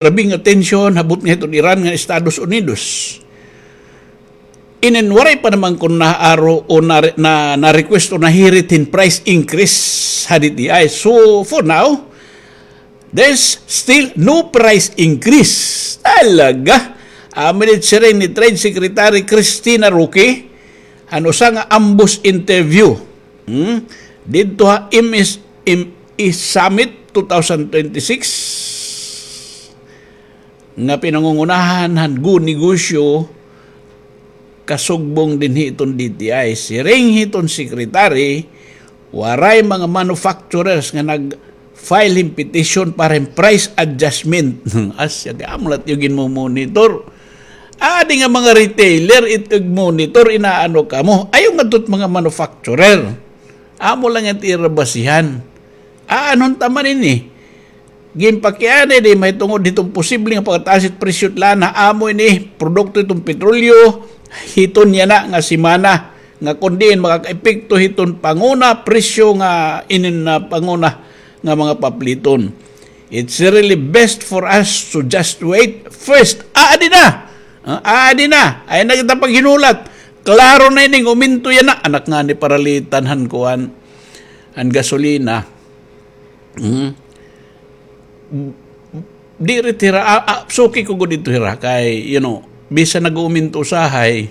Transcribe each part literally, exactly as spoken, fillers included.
grabe nga tensyon, habot nga hiton Iran ngan Estados Unidos. Inin waray pa naman kon naaro o na, na, na-request o nahirit hin price increase ha D T I. So, for now, there's still no price increase. Talaga. Amo ini siring ni Trade Secretary Christina Roque, han usa nga ambos interview. Hmm? Didto ha M S M E Summit two thousand twenty-six. nga pinangungunahan han Go Negosyo kasugbong dinhi hiton D T I. Siring hiton secretary, waray mga manufacturers nga nag-file hin petition para hin price adjustment. Asya, kay amo la it iyo ginmo-monitor. Adi nga mga retailer, it ig-monitor, inaano kamo. Ayaw ngadto it mga manufacturer. Amo la it ira basihan. Aanhon ta man ini? Ginpakiana ini mahitungod hiton posible nga pagtaas it presyo it lana, amo ini produkto hiton petrolyo, hiton yana nga semana, nga kon diin makakaepekto hiton panguna presyo nga inin na panguna nga mga papliton. It's really best for us to just wait first. Aadi na! Ah, aadi na! Ayaw na kita paghinulat. Klaro na ini nga uminto yana. Anak ngani paralitan han kuan, han gasolina. Hmm. Diri it hira, ah, ah, suki ko gud ito hira kay, you know, bisan nag-uuminto usahay,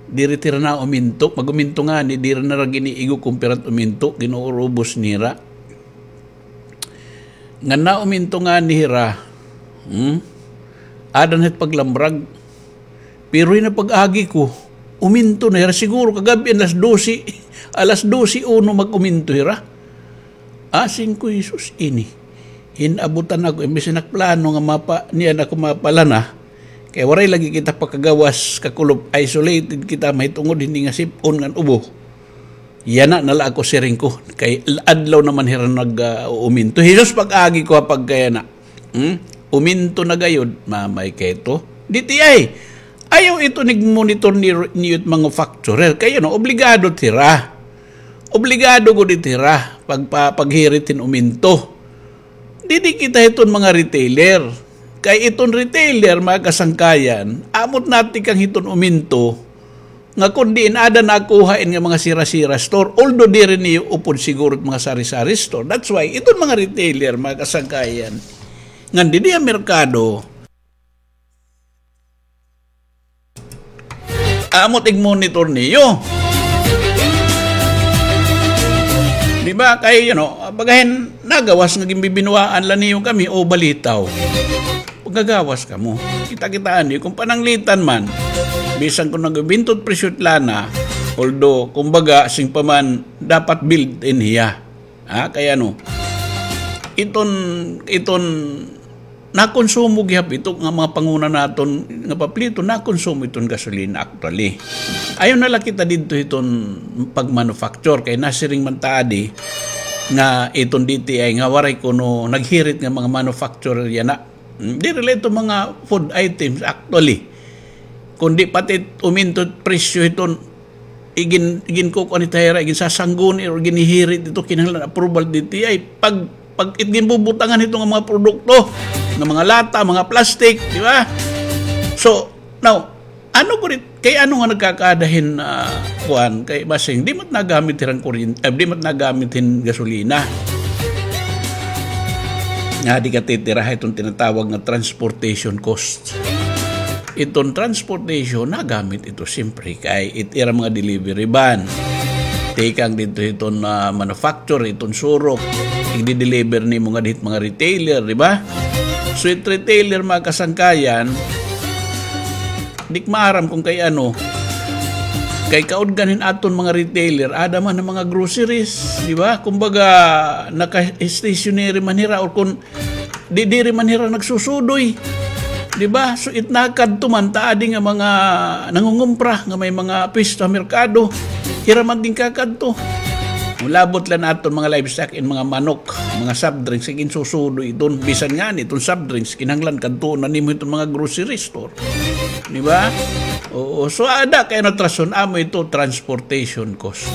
diri it hira nauminto, mag-uminto ngani, diri na hira gin-iigo kon pira it uminto, gin-uurubos nira. Ngan nauminto ngani hira, hmm? Aada na it paglambrag. Pero yana pag-agi ko, uminto na hira. Siguro kagab-i alas dose, alas dose uno mag-uminto hira. Asing ko, "Jesus, ini." Hin-abutan ako, imbes na nagplano nga mapa-, niyan ako mapalana, kay waray lagi kita pakagawas, kakulop, isolated kita, mahitungod hini nga sip-on ngan ubo. Yana na la ako, siring ko, kay adlaw naman hira nag, ah, uuminto. Jesus, pag-agi ko ha pagkayana. Hmm? Uminto na gayod, mamay kay ito. D T I, ayaw ito nig-monitor ni, ni it manufacturer. Kay, you know, obligado it hira. Obligado gud it hira pagpa-, paghirit hin uminto. Didi kita hiton mga retailer. Kay iton retailer, mga kasangkayan, amo it natikang hiton uminto, nga kon diin aada nakuha ini nga mga sira-sira store, although diri niyo upod siguro it mga sari-sari store. That's why, iton mga retailer, mga kasangkayan, ngan didi ha merkado, amo it ig-monitor niyo. Di ba? Kay, you know, bagahin nagawas nga ginbibinuwaan la niyo kami o balitaw. Pagkagawas kamo. Kita-kitaan niyo kon pananglitan man. Bisan kon nag-uminto it presyo it lana, although, kumbaga, sing pa man, dapat built-in hiya. Ha? Kay ano, iton, iton, nakonsumo gihap ito nga mga panguna naton nga paplito, nakonsumo iton gasolina actually. Ayaw na la kita didto hiton pag-manufacture, kay nasiring man ta adi nga iton D T I nga waray kuno naghirit nga mga manufacturer yana. Hmm, diri la ito mga food items actually. Kundi pati uminto it presyo hiton igin-, iginkukuan hit hira, iginsasangguni or ginhihirit ito, kinahanglan approval D T I. Pag, pag it ginbubutangan hito nga mga produkto, nga mga lata, mga plastic, di ba? So, now, ano gud it, kay ano nga nagkakaada hin, ah, kuan, kay basing, di man it nagamit hirang kuryente, eh, di man it nagamit hin gasolina. Nga di katitiraha iton tinatawag nga transportation cost. Iton transportation, nagamit ito siyempre kay it ira mga delivery van. Tikang didto hiton, ah, manufacturer, iton surok, igdi-deliver nimo ngadto hit mga retailer, di ba? So, it retailer, mga kasangkayan, di ko maaram kon kay ano, kay kaudgan hin aton mga retailer, aada man an mga groceries, di ba? Kumbaga, naka-stationary man hira or kon Di, diri man hira nagsusudoy. Di ba? So, it nakadto man, ta adi nga mga nangungumpra, nga may mga pwesto ha merkado, hira man ginkakadto. Labot la an aton mga livestock, in mga manok, mga soft drinks, ginsusudoy iton. Bisan ngani iton soft drinks, kinahanglan kadtuon na nimo iton mga grocery store. Di ba? Oo, so aada kay natrason, amo ito transportation cost.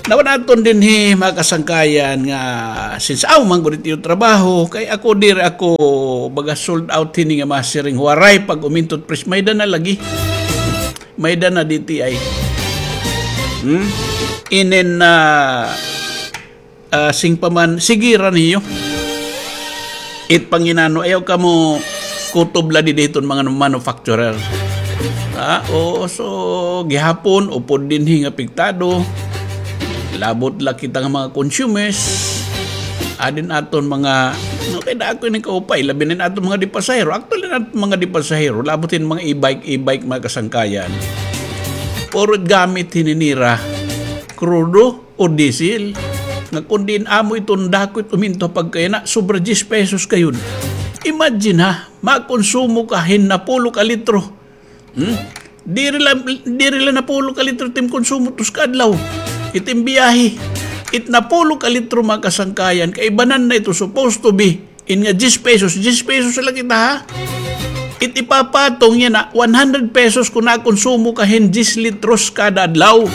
Nawa naton dinhi, mga kasangkayan, nga since aw man gud it iyo trabaho, kay ako diri ako baga sold out hini nga masiring, Waray pag-umintot presyo, may-ada na lagi. May-ada na D T I. Hmm? Inin, ah, ah, sing pa man, sige ra niyo. It panginano, ayaw kamo kutob la didi hiton mga manufacturer. Ah, oo, so, gihapon, upod dinhi nga apektado. Labot la kita nga mga consumers. Adin aton mga, no, kay dako ini kaupay, labi na aton mga di pasahero. Actually, na aton mga di pasahero, labot hin mga e-bike, e-bike, mga kasangkayan. Puro gamit hini nira, krudo o diesel. Nga kun diin amo iton dako it uminto ha pagkaina, sobra diyes pesos gayod. Imagine ha, makonsumo ka hin napulo ka litro. Hmm? Diri la, diri la napulo ka litro it im konsumo tos ka adlaw. It im biyahe. It napulo ka litro, mga kasangkayan, kaibanan na ito supposed to be. In nga diyes pesos, diyes pesos la kita, ha? It ipapatong yana, one hundred pesos kun nakonsumo ka hin diyes litros kada adlaw.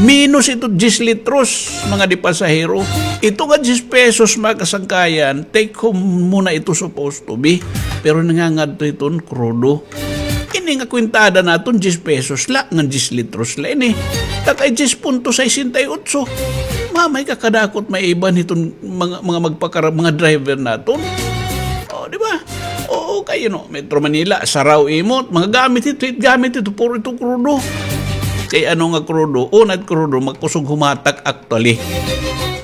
Minus ito diyes litros, mga di pasahero. Ito nga diyes pesos, mga kasangkayan, take home mo na ito supposed to be. Pero nangangadto iton krudo. Ini nga kwentada naton, diyes pesos la, ngan diyes litros la ini. Takay diyes punto sesenta y otso. Mamay ka kadakot maiban hiton mga, mga magpakara-, mga driver naton. O, di ba? Oo, kay, you know, Metro Manila, saraw imo, mga gamit ito, it gamit ito, puro ito krudo. Kay ano nga krudo? Una it krudo, makusog humatak actually.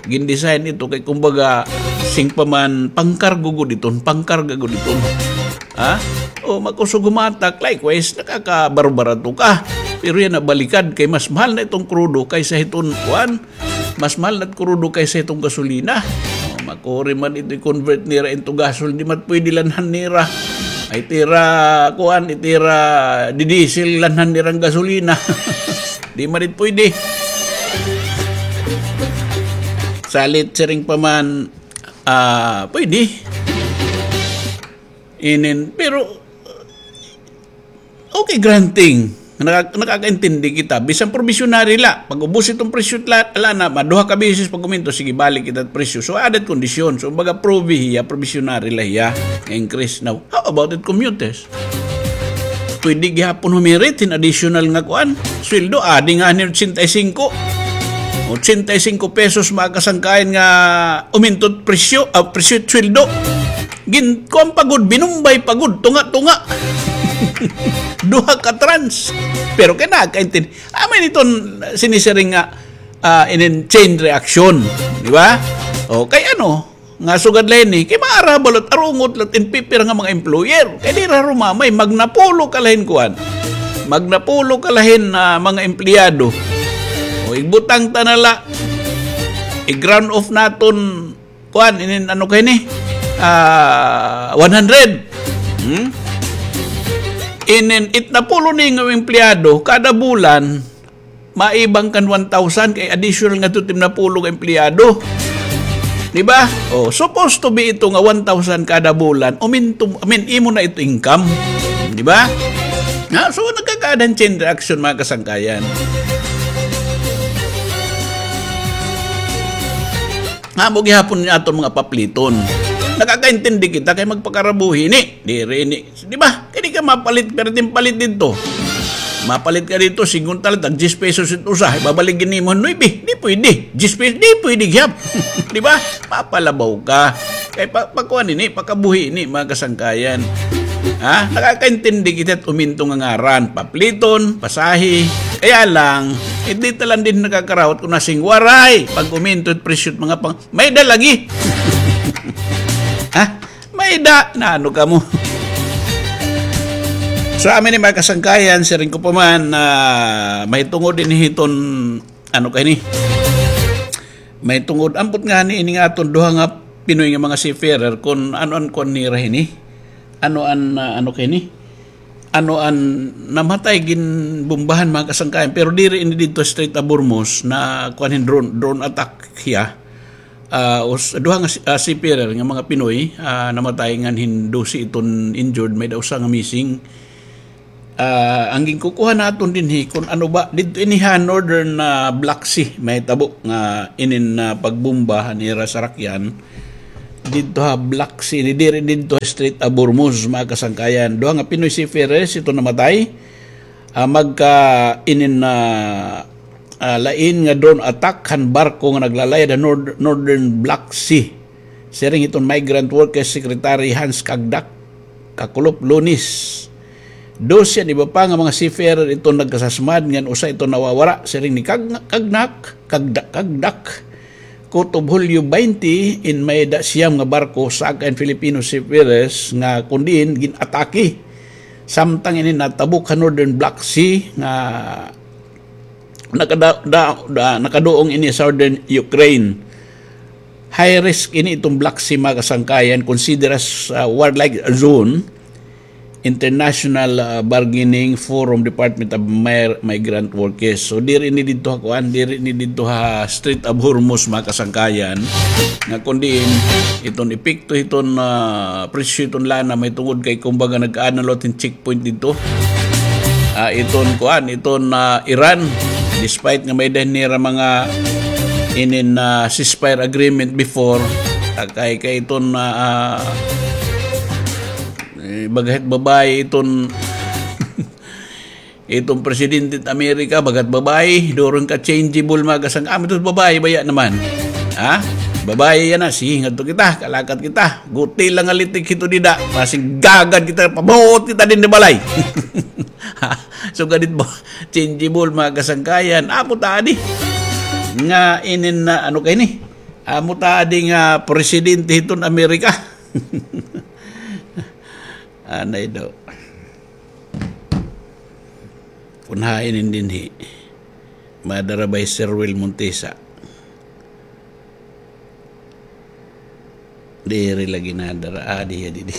Gindesign ito kay kumbaga, sing pa man, pangkargo gud iton, pangkarga gud iton. Ha? O, makusog humatak, likewise, nakakabarbarato ka. Pero yana, balikad, kay mas mahal na iton krudo kaysa hiton, kuan, mas mahal na it krudo kaysa hiton gasolina. O, makuri man ito i-convert nira into gasol, di man pwede lanhan nira. Ay, it ira, kuan, it ira, didiesel, lanhan nira hin gasolina. Di man it pwede. Salit siring pa man, ah, pwede. Inin, pero, okay, granting. Naka-, nakakaintindi kita. Bisan probationary la. Pag-ubos iton presyo la, ala na, maduha ka beses pag-uminto, sige, balik kita presyo. So, aada it kondisyon. So, baga, provi hiya, probationary la hiya. Increase now. How about it, commuters? Pwede gihapon humirit hin additional nga kuan. Sweldo, adi nga hin ochenta y cinco. Ochenta y cinco pesos, mga kasangkayan, nga umintot presyo, ah, presyo sweldo. Gin-, kuan pa gud, binumbay pa gud, tunga-tunga. Duha ka trans. Pero kay nakakaintindi. Amo ini iton sinisiring nga, ah, inin chain reaction. Di ba? O, kay ano, nga sugad la ini, kay maarabal at arungot la it pipira nga mga employer. Kay dira rumamay, magnapulo ka la hin kuan. Magnapulo ka la hin, ah, mga empleyado. O, igbutang ta na la, i-ground off naton, kuan, inin ano kay ni? Ah, one hundred. Hmm? Inin itnapulo ni nga empleyado, kada bulan, maibang kan one thousand, kay additional nga ito, itnapulo nga empleyado. Di ba? O, supposed to be ito nga one thousand kada bulan. Uminto, I mean, imo na ito income. Di ba? Ha? So, nagkakaada hin chain reaction, mga kasangkayan. Amo gihapon ni aton mga papliton. Nakakaintindi kita kay magpakarabuhi ni. Diri ni. Di ba? Kay di ka mapalit, perting palit didto. Mapalit ka didto, singkwenta la, tag diyes pesos it usa. Ibabalik gid nimo, nuebe. Di pwede. Diyes pesos, di pwede gihap. Di ba? Mapalabaw ka. Kay pa, pakuan ini, pakabuhi ini, mga kasangkayan. Ha? Nakakaintindi kita it uminto nga ngaran. Papliton, pasahe. Kaya lang, hindi ta lang din nakakarawat kun nasing Waray pag-uminto it presyo it mga pang-, may-ada lagi. Ha? May-ada, naano kamo? So, amin ni mga kasangkayan, siring ko pa man, ah, mahitungod ini hiton, ano kay ni? Mahitungod, ambot ngani ini nga aton duha nga Pinoy nga mga seafarer, kun ano an kuan nira hini? Ano an, ah, ano kay ni? Ano an namatay, ginbombahan, mga kasangkayan, pero diri ini didto Strait of Hormuz na kuan hin drone, drone attack hiya. Ah, us-, duha nga si-, ah, seafarer nga mga Pinoy, ah, namatay ngan hin dose iton injured, may-ada usa nga missing. Ah, an ginkukuha naton dinhi, kun ano ba, didto ini ha Northern, ah, Black Sea, mahitabo nga inin, ah, pagbomba han ira sarakyan. Didto ha Black Sea, ini diri didto ha Strait of Hormuz, mga kasangkayan. Duha nga Pinoy seafarers, ito namatay. Ah, magka inin, ah, ah, lain nga drone attack han barko nga naglalayad ha Nord-, Northern Black Sea. Siring hiton Migrant Workers Secretary Hans Kagdak, Kakulop, Lunes. Dose an iba pa nga mga seafarer iton nagkasasmad ngan usa iton nawawara, siring ni Kag-, Kagnak, Kagdak, Kagdak. Kutob Hulyo baynte, in may-ada siyam nga barko, saka in Filipino seafarers nga kun diin gin-atake. Samtang ini natabok ha Northern Black Sea nga nakada-, da-, da-, nakaduong ini Southern Ukraine. High risk ini iton Black Sea, mga kasangkayan, consider as, uh, warlike zone, international, uh, bargaining forum, Department of Mir-, Migrant Workers. So, diri ini didto ha kuan, diri ini didto ha Strait of Hormuz, mga kasangkayan, nga kun diin iton epekto hiton, ah, presyo hiton lana mahitungod kay kumbaga nagkaada na liwat hin checkpoint didto. Ah, iton kuan, iton, ah, Iran, despite nga may-ada nira mga inin, ah, ceasefire agreement before, ah, kay, kay iton, ah, ah, eh, baga hit babaye iton iton presidente hit Amerika, baga hit babaye, duro nga changeable, mga kasang-, ah, ito babaye baya naman. Ha? Babaye yana, sige, ngadto kita, kalakat kita. Guti la nga litik hito dida, basig gagad kita, pabuot kita dinhi balay. Ha? So, ganit ba? Changeable, mga kasangkayan. Amo ta adi. Nga inin na, ano kay ni? Amo ta adi nga presidente hiton Amerika. Anay daw. Kun hain in dinhi. Madara by Sir Will Montesa. Diri lagi nadara. Ah, di, di, di.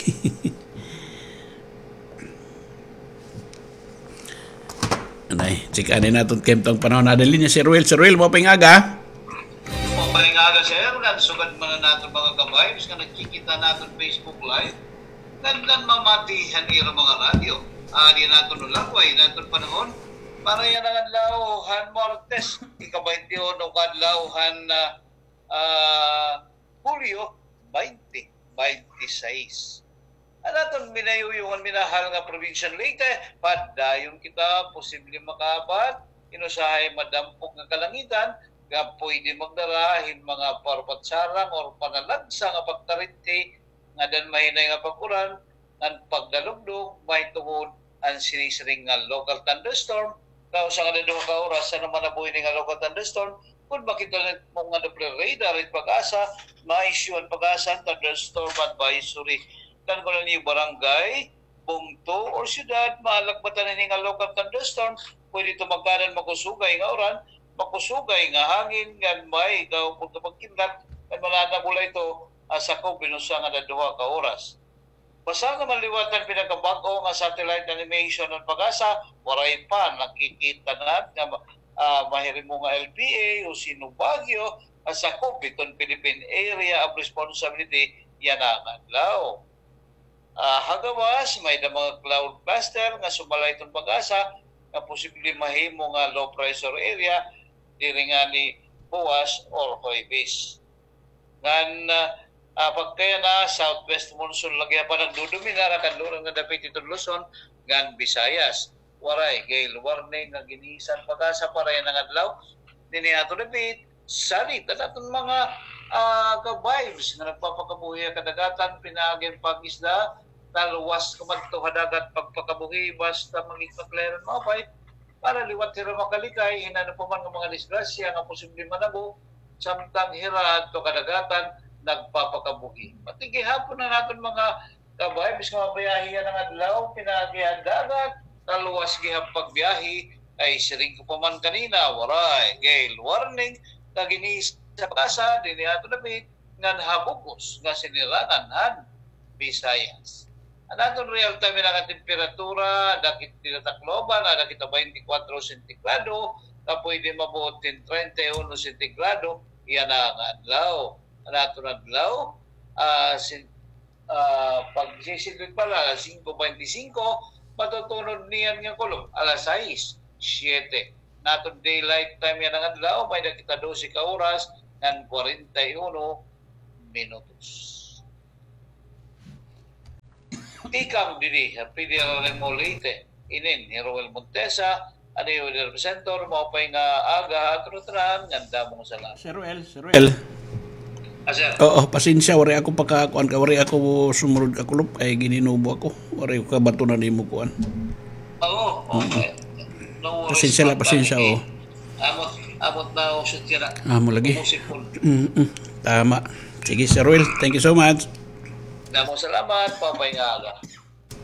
Anay, check anay naton kay imong panahon. Ada linya si Sir Will. Sir Will, maupay nga aga. Maupay nga aga, sir. Ngan sugad man an aton mga ka-vibes nga nagkikita naton Facebook Live. Ngan, ngan mamati han ira mga radyo. Adi naton ulaway, naton panahon. Para yana nga adlaw han Martes, ika-baynte uno ka adlaw han, ah, ah, Hulyo, baynte baynte sais. An aton minayuyong ngan minahal nga probinsyang Leyte, padayon kita posible makaabot hin usahay madampog nga kalangitan nga pwede magdara hin mga parupatsarang or panalagsa nga pagtarinti nga daan mahinay nga pag-uran ngan pagdalugdog mahitungod an sinisiring nga local thunderstorm. Kausa nga duha ka oras, ano man nabuhi ini nga local thunderstorm, kun makita mo nga Doppler radar it PAGASA, ma-issue an PAGASA an thunderstorm advisory. Kan kun an iyo barangay, bungto, or syudad, maalagbatan ini nga local thunderstorm, pwede ito magkaada hin makusugay nga uran, makusugay nga hangin, ngan may gahupon nga pagkidlat, ngan mananabula ito, ah, sakob hin usa ngan duha ka oras. Basta nga man liwat han pinakabag-o nga satellite animation han PAGASA, waray pa nakikita na nga, ah, mahirimo nga L P A o Sino Baguio, ah, sakob hiton Philippine Area of Responsibility yana nga adlaw. Ah, ha gawas, may-ada mga cloud cluster nga sumala hiton PAGASA nga posible mahimo nga low pressure area diri ngani buwas or Huwebes. Ngan, ah, ah, pagkayana, southwest monsoon la gihap an nagdodominar ha kanluran nga dapit hiton Luzon ngan Visayas. Waray gale warning nga gin-iisyu an PAGASA para yana nga adlaw. Dinhi ha aton dapit, salit an aton mga, ah, ka-vibes nga nagpapakabuhi ha kadagatan, pinaagi an pag-isda, talwas kumadto ha dagat pagpakabuhi, basta maging maklaro an maupay, para liwat hira makalikay hin ano pa man nga mga disgrasya nga posible manabo, samtang hira adto kadagatan nagpapakabuhi. Pati gihapon an aton mga ka-vibes nga mabiyahe yana nga adlaw, pinaagi ha dagat, talwas gihap pagbiyahe, kay siring ko pa man kanina, waray gale warning nga gin-iisyu an PAGASA dinhi ha aton dapit ngan ha bug-os nga sinirangan han Visayas. An aton real time nga temperatura, dakit dida Tacloban, ada kita baynte kwatro sentigrado, nga pwede mabuot hin treinta y uno sentigrado yana nga adlaw. An aton adlaw, ah, sin-, ah, pagsisidlog pa la, alas singko baynte singko, Patutunod niyan nga kulop, alas sais, siyete. Natod daylight time yana nga adlaw, may-ada kita dose ka oras ngan kwarenta y uno minutos. Tikang didi ha Federal Leyte, inin hi Roel Montesa, an iyo weather presenter. Maupay nga aga ha aton ngatanan, ngan damo nga salamat. Sir Roel, Sir Roel. Ah, sir. Oo, pasensya, waray ako pakakuan ka, waray ako sumunod ka kulop, ay gininubo ako. Waray ko kabatunan imo kuan. Oo, okay. No worries, pasensya la, pasensya, oo. Amot, amot na usot ka na. Amo lagi. Umusipon. Mm-mm. Tama. Sige, Sir Roel, thank you so much. Damo salamat, maupay nga aga.